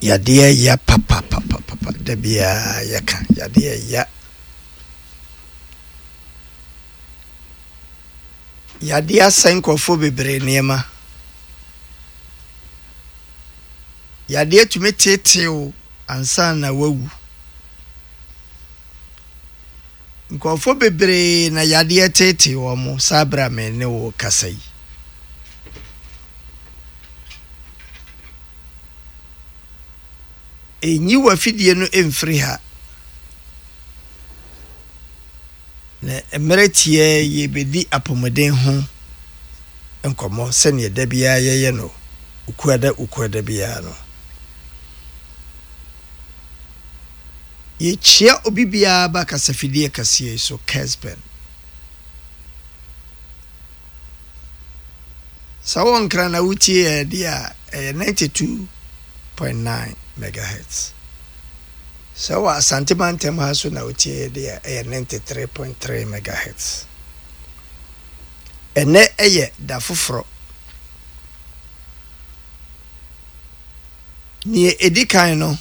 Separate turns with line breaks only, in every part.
Yadeɛ ya papapapapa da biara yɛka yadeɛ ya. Yadeɛ asɛe nkurɔfoɔ bebree nneɛma. Yadeɛ tumi teetee wo ansa na woawu. Nkurɔfoɔ bebree na yadeɛ teetee wɔn saa berɛ a me ne wo rekasa yi. Nyi w'afidie no mfiri ha. Na mmerɛ tiaa yi yɛbɛdi apɔmuden ho nkɔmmɔ sɛdeɛ da biara yɛyɛ no Okuada Okuada biara no. Yɛkyia obi biara ba kasafidie kɛseɛ yi so, Kesben. Sɛ wowɔ Nkran na wotie yɛn deɛ a, ɛyɛ 92.9 megahertz. Sɛ wowɔ Asante mantam ha nso na wotie yɛn deɛ a, ɛyɛ 93.3 megahertz. Ɛnnɛ yɛ da foforɔ. Nea ɛdi kan no,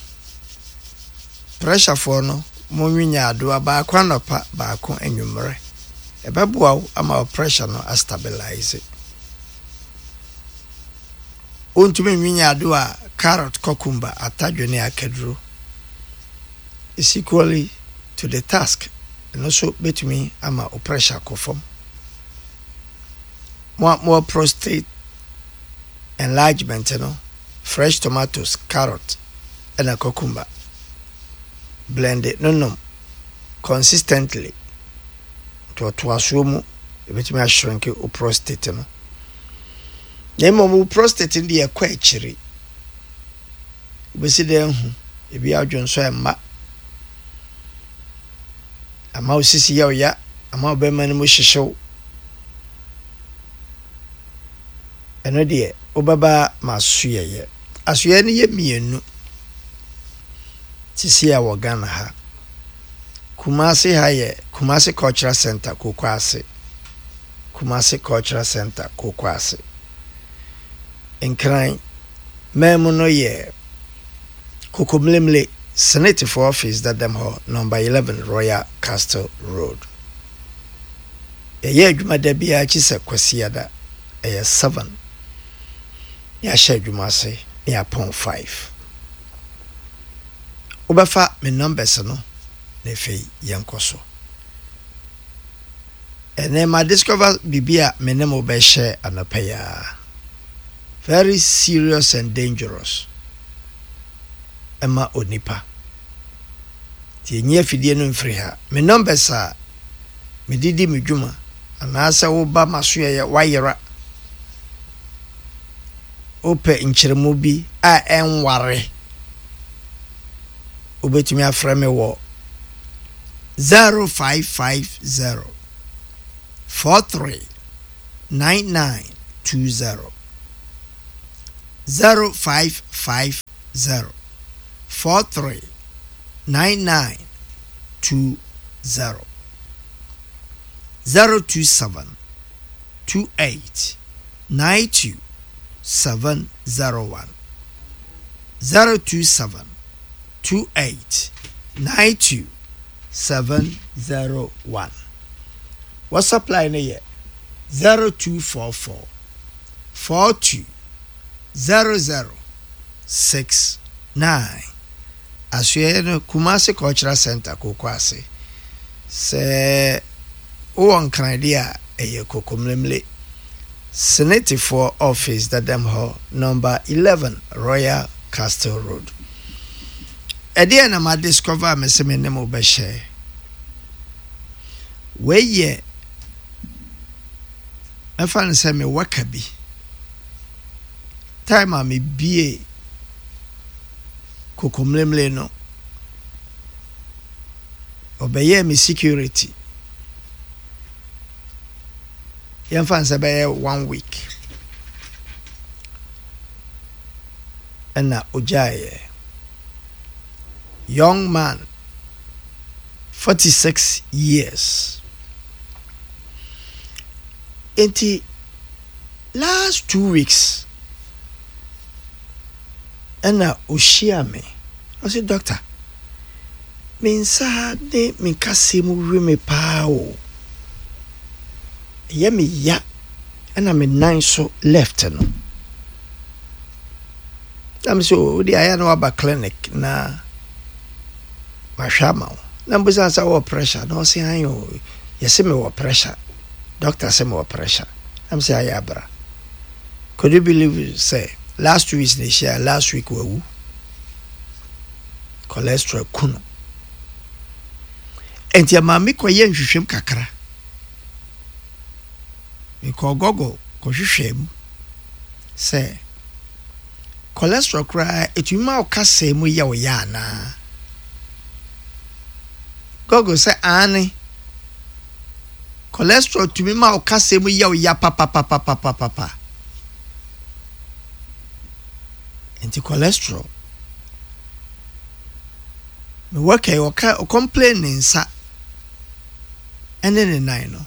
prɛhyafoɔ no, monwe nyaadoa baako anɔpa, baako anwummerɛ. Ɛbɛboa wo ama wo pressure no astabilize. Wontumi nwe nyaadoa a, carrot, cucumber, atadwe ne akaduro is equally to the task. Ɛno nso bɛtumi ama wo pressure akɔ fam. Mo a mowɔ prostate enlargement no, fresh tomatoes, carrot ɛna cucumber blend no nom consistently ntoatoasoɔ mu ɛbɛtumi ashrinke wo prostate no. Na mmom wo prostate no deɛ ɛkɔ akyiri. Wobɛsi dɛn ahu? Ebi adwonsɔ ɛmma. Ama wo sisi yɛ wo ya, ama wo bɛrima no mu hyehye wo. Ɛno deɛ wobɛba m'asoɛeɛ. Asoɛeɛ no yɛ mmienu sisi a wɔ Ghana ha. Kumasi ha yɛ Kumasi Cultural Centre, Kokoase. Kumasi Cultural Centre, Kokoase. Nkran man mu no yɛ Kokomlemle, Senetefoɔ Office dadam hɔ, Number 11 Royal Castle Road. Yɛyɛ adwuma da biara akyi sɛ Kwasiada, ɛyɛ 7 na yɛahyɛ adwuma ase na yɛapɔn 5. Wobɛfa me numbers no na afei yɛnkɔ so. Ɛnɛ ma discover biribi a me ne mo bɛhyɛ anɔpa yi ara. Very serious and dangerous ɛma onipa. Nti ɛnyi afidie no mfiri ha. Me numbers a mede di me dwuma anaasɛ woba m'asoɛeɛ woayera wopɛ nkyerɛmu bi a ɛnware wobɛtumi afrɛ me wɔ 0550 43 9920 0550 43 9920 027 28 92 701 027 28 92 701. WhatsApp line no yɛ 0244 42 00 69. Asoɛeɛ no, Kumasi Cultural Centre, Kokoase. Sɛ wowɔ Nkran deɛ a, ɛyɛ Kokomlemle. Senetefoɔ Office dadam hɔ, Number 11 Royal Castle Road. Ɛdeɛn na ma discover a mese me ne mo bɛhyɛ? Wei yɛ mɛfa no sɛ me worker bi. Time a mebie kokomlemle no, ɔbɛyɛɛ me security. Yɛmfa no sɛ bɛyɛ one week ɛna ogyaeɛ. Young man, 46 years. Nti last 2 weeks. Ɛna ɔhyiaa me, ɔse Doctor, me nsa ne me nkasɛɛ mu we me paa o, ɛyɛ me ya ɛna me nan so left no. Na me sɛ o, wode ayɛ na waba clinic na mahwɛ ama wo. Na mbusa sɛ wɔ pressure na ɔse an o, yɛse mewɔ pressure, doctor sɛ mewɔ pressure. Na me sɛ ayɛ abra. Could you believe sɛ last 2 weeks na ehyia, last week wawu. Cholesterol ku no. Enti ɛma me kɔyɛ nhwehwɛm kakra. Mekɔɔ Google kɔhwehwɛɛ mu sɛ cholesterol koraa etumi ma wo kasaa mu yɛ wo ya anaa. Google sɛ aane. Cholesterol tumi ma wo kasaa mu yɛ wo ya papapapapapa. Nti cholesterol. Me worker yi ɔka ɔcomplain ne nsa ɛne ne nan no.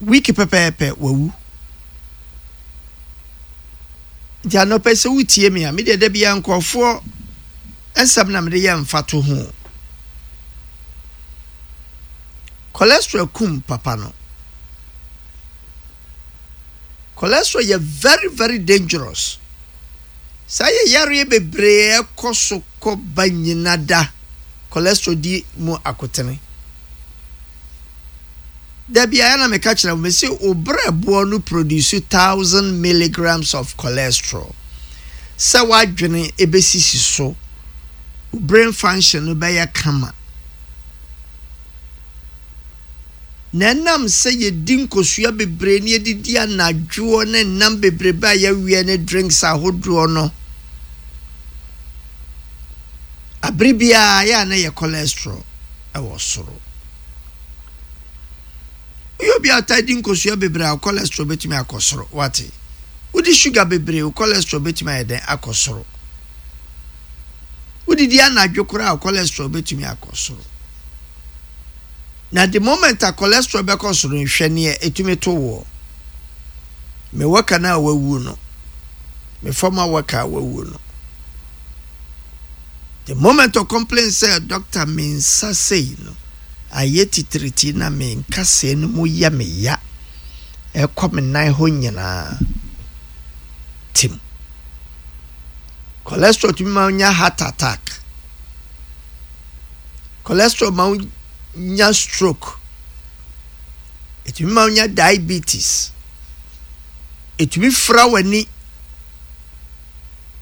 Week pɛpɛɛpɛ wawu. Nti anɔpɛ sɛ wotie me a, me deɛ da biara nkurɔfoɔ nsɛm na mede yɛ mfato ho. Cholesterol kum papa no. Cholesterol yɛ very very dangerous. Saa yɛ yareɛ bebree ɛkɔ so kɔ ba nyina da cholesterol di mu akotene. Da biara na meka kyerɛ mo, mese wo brɛboɔ no produce 1000 milligrams of cholesterol. Sɛ w'adwene ebesisi so, wo brain function no bɛyɛ kama. Na ɛnam sɛ yɛdi nkosua bebree ne yɛdidi anadwoɔ ne nnam bebrebe a yɛweɛ ne drinks ahodoɔ no, abere biara yɛ a na yɛ cholesterol ɛwɔ soro. Woyɛ obi a ɔtaa di nkosua bebree a, cholesterol bɛtumi akɔ soro. Wate? Wodi sugar bebree, wo cholesterol bɛtumi ayɛ dɛn akɔ soro. Wodidi anadwo koraa, cholesterol bɛtumi akɔ soro. Na the moment a cholesterol bɛkɔ soro no, hwɛ neɛ ɛtumi to woɔ. Me worker no a wawu no, me former worker a wawu no, the moment of complain sɛ, "Doctor, me nsa sei no ayɛ titiriti na me nkasɛɛ no mu yɛ me ya, ɛkɔ me nan hɔ nyinaa," tim. Cholesterol tumi ma nya heart attack. Cholesterol ma nya stroke. Ɛtumi ma nya diabetes. Ɛtumi fira w'ani.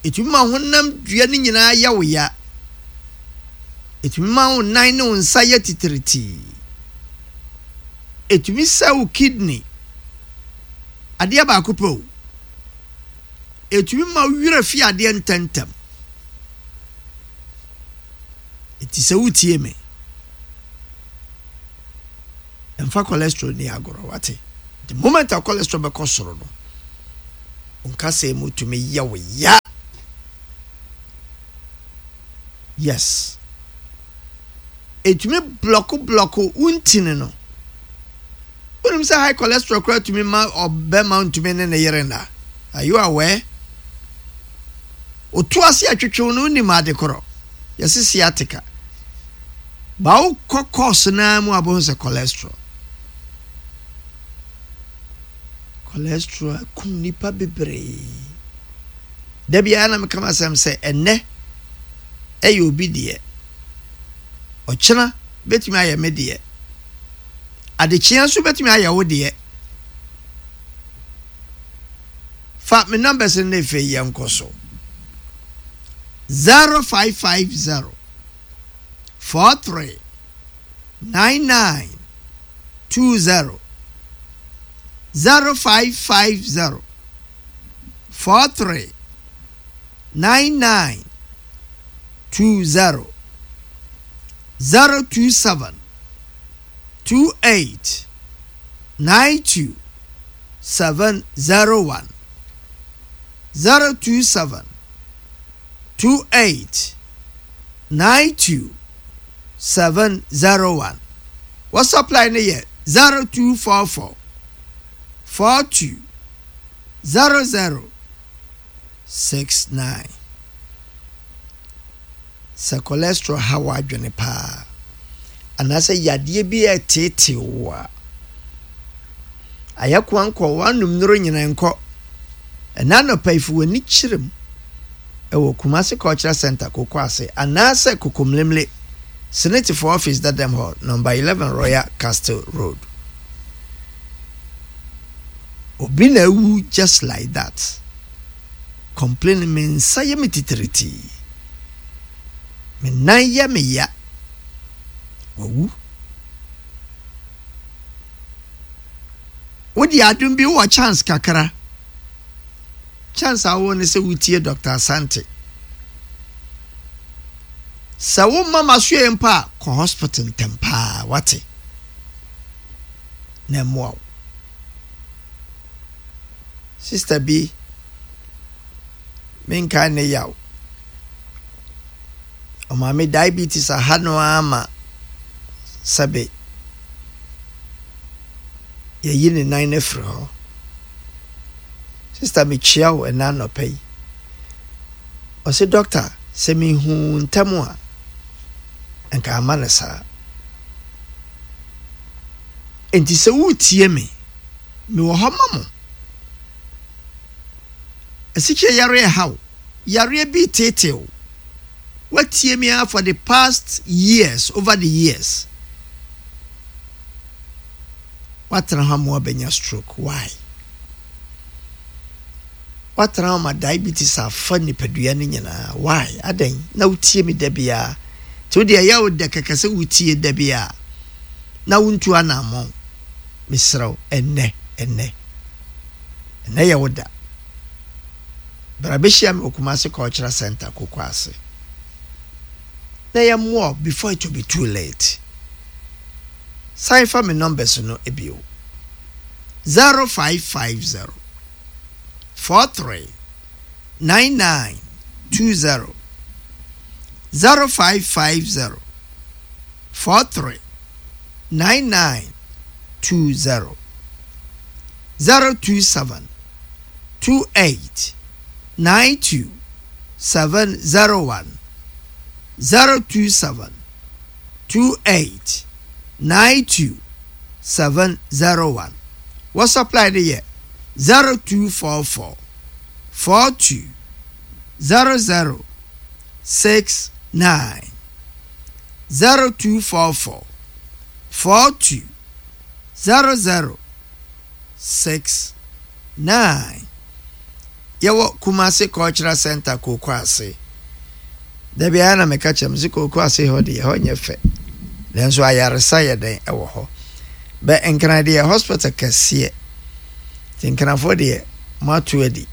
Ɛtumi ma honam dua no nyinaa yɛ wo ya. Ɛtumi ma wo nan ne wo nsa yɛ titiritii. Ɛtumi sɛ wo kidney. Adeɛ baako pɛ o. Ɛtumi ma wo werɛ fi adeɛ ntɛmntɛm. Nti sɛ wotie me, mfa cholesterol ni agorɔ, wate? The moment a cholesterol bɛkɔ soro no, nkasɛɛ mu tumi yɛ wo ya. Yes. Ɛtumi block block wo ntini no. Wonim sɛ high cholesterol koraa tumi ma ɔbɛma ntumi ne ne yere nna? Are you aware? Otu ase atwetwew no, wonim ade korɔ. Yɛse sciatica. Ba wokɔ course naa mu abɛhu sɛ cholesterol. Cholesterol akum nipa bebree. Da biara na meka m'asɛm sɛ ɛnnɛ ɛyɛ obi deɛ. Ɔkyena bɛtumi ayɛ me deɛ. Adekyea nso bɛtumi ayɛ wo deɛ. Fa me numbers no na afei yɛnkɔ so. 0550 43 99 20, 0550 43 99 20, 027 28 92 701, 027 28 92 701. WhatsApp line no yɛ 0244 42 00. 69. Sɛ cholesterol ha w'adwene paa anaasɛ yadeɛ bi reteetee wo a, ayɛ koankɔ w'anom nnuro nyina nkɔ. Ɛna anɔpa yi fa w'ani kyerɛ mu ɛwɔ Kumasi Cultural Center Koko ase anaasɛ Kokomlemle Senetifoɔ Office dadam hɔ, Number 11 Royal Castle Road. Obi na awu just like that. Complain me nsa yɛ me titiritii. Me nan yɛ me ya. Wawu. Wode adom bi wowɔ chance kakra. Chance a wowɔ ne sɛ wotie Dr. Asante. Sɛ womma masoɛ mpo a kɔ hospital ntɛm paa wate na ɛmmoa wo. Sister bi, menkae ne yaw. Ɔmaame diabetes aha no ara ma sɛbe yɛyi ne nan no afiri hɔ. Sister mekyia wo ɛna anɔpa yi. Ɔse doctor sɛ mehu ntɛm a nka ama no saa. Enti sɛ woretie me Mewɔ hɔ ma mo. Asikyire yareɛ ɛha wo, yareɛ bi reteetee wo. Woatie me ara for the past years, over the years. Woatena hɔ ama woabɛnya stroke. Why? Woatena hɔ ma diabetes afa nipadua no nyinaa. Why? Adɛn? Na wotie me da biara. Nti wo deɛ ɛyɛ wo dɛ kɛkɛ sɛ wotie da biara na wontu anammɔn. Mesrɛ wo, ɛnnɛ, ɛnnɛ, ɛnnɛ yɛ wo da. Bra bɛhyia me wɔ Kumasi Cultural Center, Kokoase. Na yɛmmoa wo before it will be too late. San fa me numbers no bio. 0550 43 99 20 0550 43 9920 027 28 92 701 027 28 92 701 WhatsApp line no yɛ 0244 42 00 69 0244 42 00 69. Yɛwɔ Kumasi Cultural Center Kooko ase. Da biara na meka kyerɛ mo sɛ Kooko ase hɔ deɛ ɛhɔ nyɛ fɛ. Nanso ayaresa yɛ dɛn ɛwɔ hɔ. Bɛ Nkran deɛ hospital kɛseɛ. Nti Nkranfoɔ deɛ moato adi.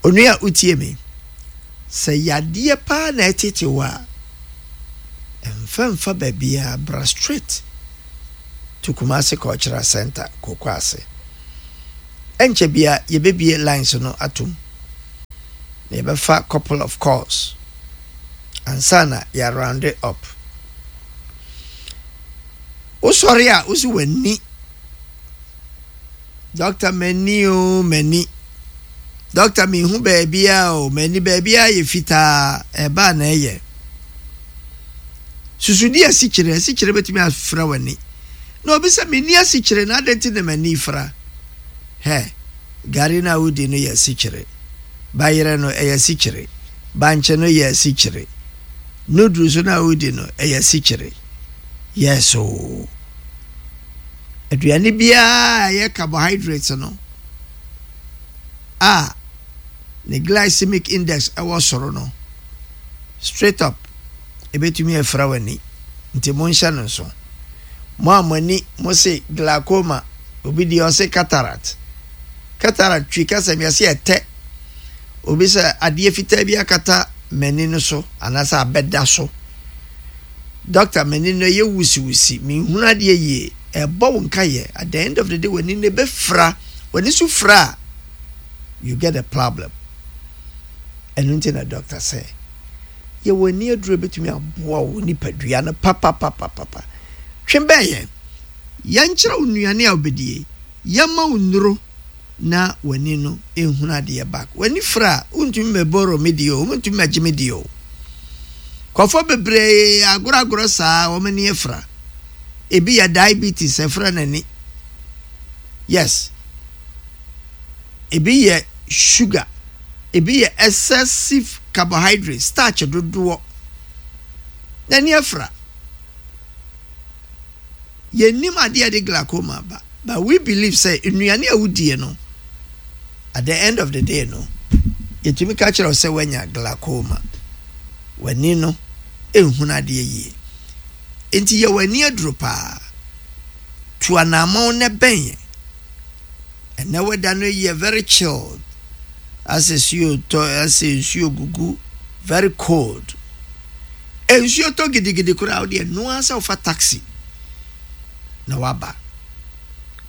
Onua wotie me. Sɛ yadeɛ paa na ɛtete wo a, mfa mfa baabiara, bra straight to Kumasi Cultural Centre, Kokoase. Ɛnkyɛ bia yɛbɛbie lines no atom na yɛbɛfa couple of calls ansa na yɛ round it up. Wosɔre a wosi w'ani Doctor m'ani o m'ani. Doctor menhu baabiara o m'ani baabiara yɛ fitaa ɛba na ɛyɛ. Susudi asikyire asikyire bɛtumi afira w'ani. Na obi sɛ menni asikyire na adɛn nti na m'ani fira? Hɛ gari no a wodi no yɛ asikyire. Bayerɛ no ɛyɛ asikyire. Bankye no yɛ asikyire. Noodles no a wodi no ɛyɛ asikyire. Yes o. Aduane biara a ɛyɛ carbohydrates no a ne glycemic index wɔ soro no, straight up, ebetumi afira w'ani. Nti monhyɛ no nso. Mo a mo ani, mo se glaucoma, obi deɛ ɔse cataract. Cataract twi kasa mu yɛse ɛtɛ. Obi sɛ adeɛ fitaa bi akata m'ani no so anaasɛ abɛda so. Doctor m'ani no ɛyɛ wusiwusi, menhunu adeɛ yie, ɛbɔ wo nkayɛ, at the end of the day w'ani no ɛbɛfira, w'ani so fira a, you get a problem. Ɛno nti na doctor sɛ, yɛwɔ ani aduro ɛbɛtumi aboa wo nipadua no papapapapa. Twe bɛn yɛn, yɛnkyerɛ wo nnuane a wobɛdie, yɛma wo nnuro. na w'ani no nhunu adeɛ back. W'ani fira a, wontumi mmɛboro me deɛ o, wontumi mmɛgye me deɛ o. Nkurɔfoɔ bebree agorɔagorɔ saa wɔn ani afira. Ebi yɛ diabetes ɛfira n'ani. Yes. Ebi yɛ sugar. Ebi yɛ excessive carbohydrate, starch dodoɔ. N'ani afira. Yɛnnim adeɛ a ɛde glaucoma ba, but we believe sɛ nnuane a wodie no, at the end of the day no, yɛtumi ka kyerɛ wo sɛ woanya glaucoma. W'ani no nhunu adeɛ yie. Enti yɛ w'ani aduro paa. Tu anammɔn na bɛn yɛn. Ɛnɛ weather no yɛ very chilled. Asɛ suo tɔ, asɛ nsuo gugu, very cold. Nsuo tɔ gidigidi koraa wo deɛ noa sɛ wofa taxi na waba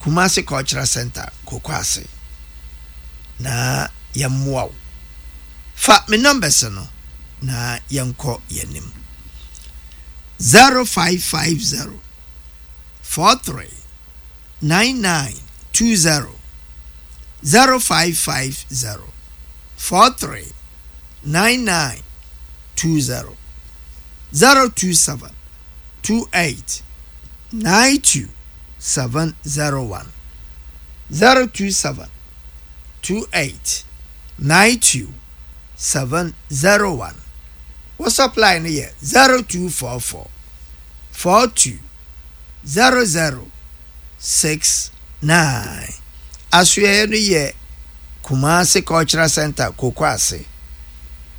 Kumasi Cultural Center Kokoase na yɛmmoa wo. Fa me numbers no na yɛnkɔ yɛnim. 0550 43 9920 0550 43 9920 027 28 92 701 027 28 92 701 Wo supply no yɛ 0244 42 00 69 Asoɛeɛ no yɛ Kumasi Cultural Centre, Kokoase.